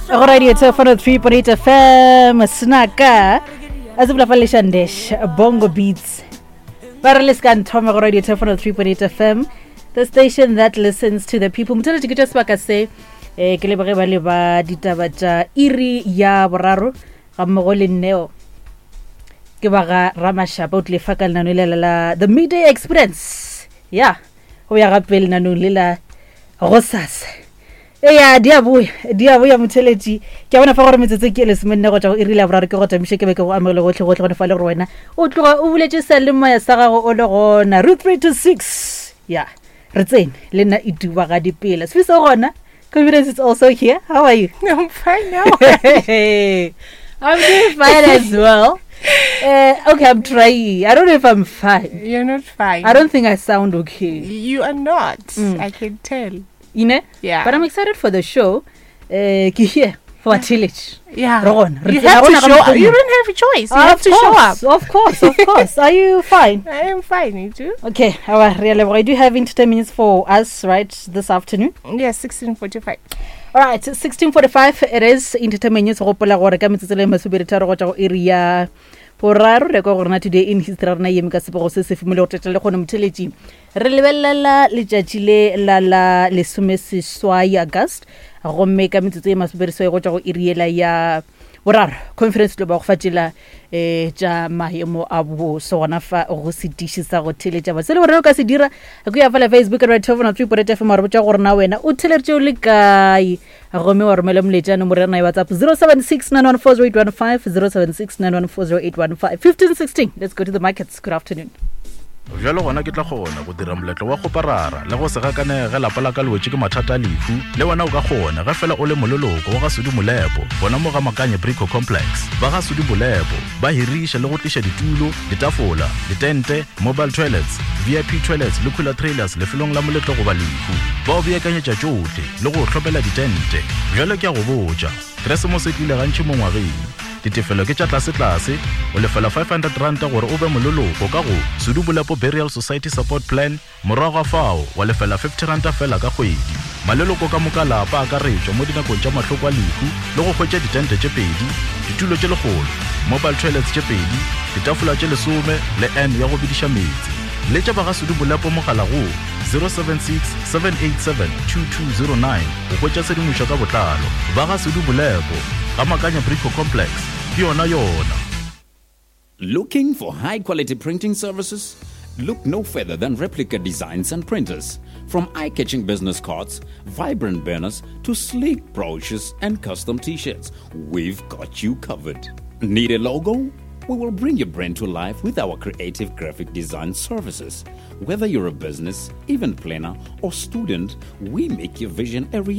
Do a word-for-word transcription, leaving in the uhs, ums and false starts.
Go radio four three point eight F M, Snaka a se bula fa Leshandesh Bongo Beats ba re le se ka nthoma go radio three point eight F M, the station that listens to the people. Motholetše ke tša sebaka se um ke leboge ba le ba ditaba tša iri ya boraro ga mmogo le nneo ke ba ga Ramashapa o tlile fa ka lenano lela la The Midday Experience ya go ya gape lenanong le la gosasa. Eya, di a boya, di a boya, motheletši. Ke a bona fa gore metsotso ke lesomenne go tšwa go iri la boraro. Ke go tamiše ke be ke go amogele gotlhe gotlhe gone fa le gore wena o tloga o buletše salemoya sa gago o le gona root three to six ya re tsene le nna e duba ga dipela sefiso gona. Confidence is also here. How are you? I'm fine now. I'm doing fine as well. Uh, okay, I'm trying. I don't know if I'm fine. You're not fine. I don't think I sound okay. You are not. Mm. I can tell. You know? Yeah. But I'm excited for the show. Uh, ke here for Tilich. Yeah. Re gona. Re You tsena have to gona ga show up. mokgomong. You don't have a choice. You have Of to show course, up. Of course, of course. Are you fine? I am fine. You too? Okay, all right, really. You do have entertainment minutes for us, right, this afternoon? Yes, sixteen forty-five. All right, sixteen forty-five it is. Entertainment news, gopola gore ka metsotso le masometharo go tšwa go iri ya boraro re kwa gore na today in history rena yeme ka sepego se se fomile go teta le kgone motheletši re lebelela letšatši le la la lesomeseswai August gomme ka metsotso e masomeseswai go tšwa go iri yela ya boraro conference tlo ba go fa tšela um tša maemo a boso gona fa go setiši sa go theletša ba se le gore o ka se dira ko ya fela Facebook at three point F M wa re botša gore na wena o theleditše o le kae gomme wa romela moletša nomoro ya rena ya WhatsApp zero seven six nine one four zero eight one five, zero seven six nine one four zero eight one five. fifteen sixteen, let's go to the markets. Good afternoon. Bjalo gona ke tla kgona go dira moletlo wa kgoparara le go se gakanege ge lapa la ka le wetše ke mathata a lehu. Le wena o ka kgona ge fela o le moleloko wa ga Sudi Molepo gona mo ga Makanye Brico Complex. Ba ga Sudi Molepo ba hiriša le go tliša ditulo, ditafola, ditente, mobile toilets, V I P toilets le cooler trailers lefelong la moletlo goba lehu. Ba o beakanyetša tšohle le go hlopela ditente. Bjalo ke a go botša, Keresemose e tlile gantši mo ngwageng. Ditefelo ke tša tlasetlase, o lefela five hundred ranta gore o be moleloko ka go Sudu Bolepo Burial Society Support Plan. Morago ga fao wa lefela fifty ranta fela ka kgwedi. Maleloko ka moka lapa akaretšwa mo dinakong tša mahloko a lehu le go hwetša ditente tše pedi, ditulo tše lekgolo, mobile toilets tše pedi, ditafola tše lesome le n ya go bediša meetse. Letša ba ga Sudu Bolepo mogala go zero seven six seven eight seven two two zero nine go hwetša tshedimošo ka botlalo. Ba ga Sudu Bolepo ga Makanya Brico Complex ke yona yona. Looking for high quality printing services? Look no further than Replica Designs and Printers. From eye catching business cards, vibrant banners, to sleek brochures and custom t shirts, we've got you covered. Need a logo? We will bring your brand to life with our creative graphic design services. Whether you're a business, event planner, or student, we make your vision a reality.